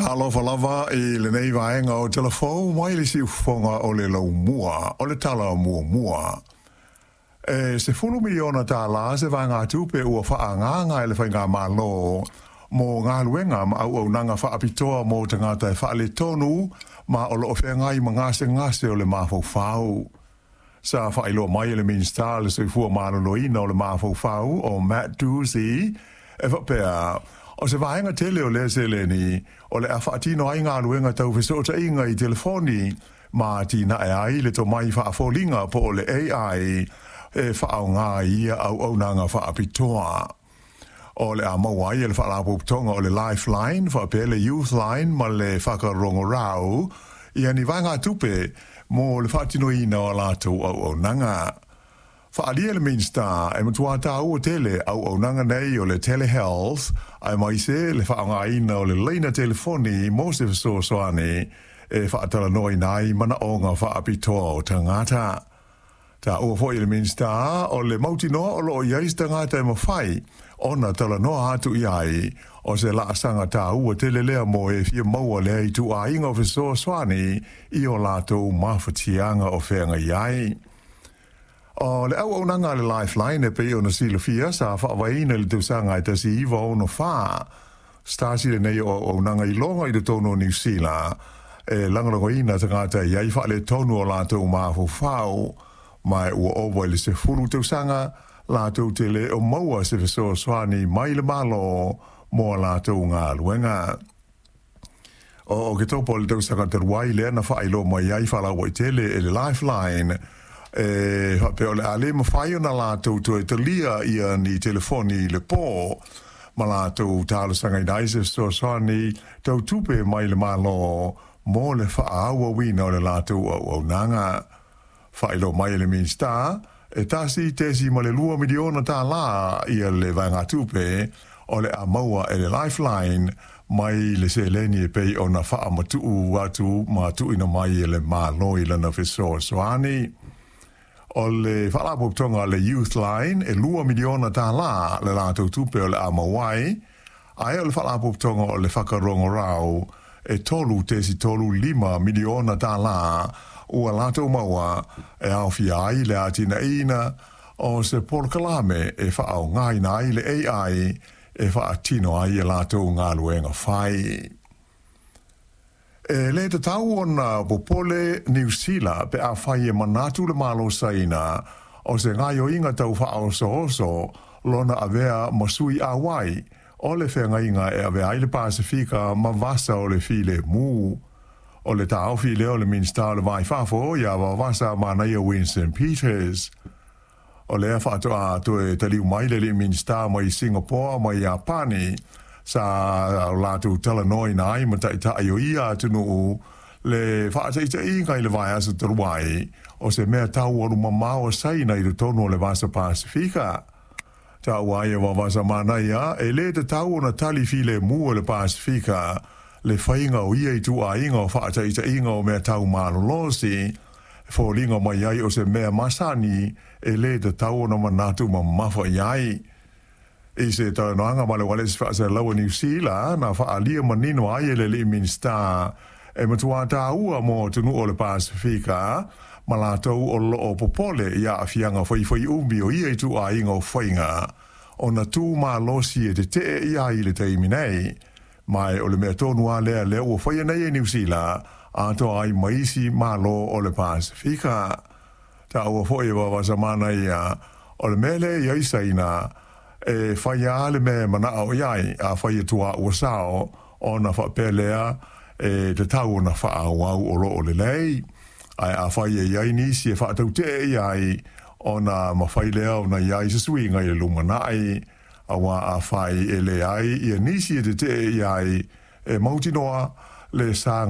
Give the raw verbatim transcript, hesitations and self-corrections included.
Talofa lava i lenei vaega o Tala Fou mai le siufofoga o le laumua o le tala muamua. E sefulu miliona tālā se vaegatupe ua faaagaaga e le Faigamalo mo galuega ma auaunaga faapitoa mo tagata e faaletonu ma o loo feagai ma gasegase o le mafaufau. Sa faailoa mai e le Minisita le Soifua Maloloina o le Mafaufau o Matt Doocey e faapea, o se vaega tele o lea seleni o le a faatino ai galuega tau fesootaiga i telefoni ma atinae ai le tomai faafoliga po o le A I e faaaoga ia auaunaga faapitoa. O le a maua ai e le faalapotopotoga o le Lifeline faapea le Youthline ma le Whakarongorau ia ni vaegatupe mo le faatinoina o latou auaunaga. Faaalia le Minisita e matua tāua tele auaunaga nei o le telehealth aemaise le faaaogaina o le laina telefoni mo se fesoasoani e faatalanoaina ai manaoga faapitoa o tagata. Taua foi le Minisita o le mautinoa o loo i ai se tagata e mafai ona talanoa atu i ai o se laasaga taua tele lea mo e fia maua lea ituaiga o fesoasoani i o latou mafatiaga o feagai ai. O le auaunaga a le Lifeline e pei ona silafia sa faavaeina i le tausaga e tasi iva ono fa. Stasi lenei o auaunaga iloga i totonu o Niu Sila e lagolagoina tagata i ai faaletonu o latou mafaufau ma ua ova i le sefulu tausaga latou te le o maua se fesoasoani mai le Malo mo a latou galuega. O Oketopa o le tausaga talu ai lea na faailoa mai ai faalauaitele e le Lifeline e faapea o le a le mafai ona latou toe talia ia ni telefoni i le po ma latou talosagaina ai se fesoasoani tau tupe mai le Malo mo le faaauauina o le latou auaunaga. Faailoa mai e le Minisita e tasi tesi ma le lua miliona tālā ia le vaegatupe o le a maua e le Lifeline mai le seleni e pei ona faamatuu atu ma tuuina mai e le Malo i lana fesoasoani. O le faalapotopotoga le Youthline e lua miliona tālā le latou tupe o le a maua ai, ae o le faalapotopotoga o le Whakarongorau e tolu tesi tolu lima miliona tālā ua latou maua e aofia ai le atinaeina o se polokalame e faaaogaina ai le A I e faatino ai e latou galuega fai. E le tatau ona popole Niu Sila pe afai e manatu le Malo Saina o se gaoioiga tau faaosooso lona avea ma sui auai o le feagaiga e avea ai le Pasefika ma vasa o le filemu. O le taofi lea o le Minisita o le Va i Fafo ia Vaovasamanaia Winston Peters. O lea faatoa toe taliu mai le alii Minisita mai Singapore ma Iapani sa latou talanoaina ai ma taitai o ia atunuu le faataitaiga i le vaiaso talu ai o se mea tau alumamao a Saina i totonu o le Vasa Pasefika. Taua ai e Vaovasamanaia e le tatau ona tali filemu e le Pasefika le faiga o ia ituaiga o faataitaiga o mea tau malolosi e foliga mai ai o se mea masani e le tatau ona manatu mamafa i ai. I se talanoaga ma le ualesi faasalalauina Niu Sila na faaalia manino ai e le alii Minisita e matua tāua mo atunuu o le Pasefika ma latou o loo popole i aafiaga faifaiumi o ia ituaiga o faiga ona tu malosi e tetee i ai le taimi nei. Ma o le mea tonu a lea lea ua faia nei e Niu Sila atoa ai ma isi malo o le Pasefika. Taua foi e Vaovasamanaia o le mea lea i ai Saina e fai a le mea manao i ai a fai atua ua sao ona faapea lea e tatau ona faaauau o loo lelei. Ae a fai e i ai nisi e faatautee i ai ona mafai lea ona i ai se suiga i le lumanai auā a fai e leai ia nisi e tetee i ai e mautinoa le sa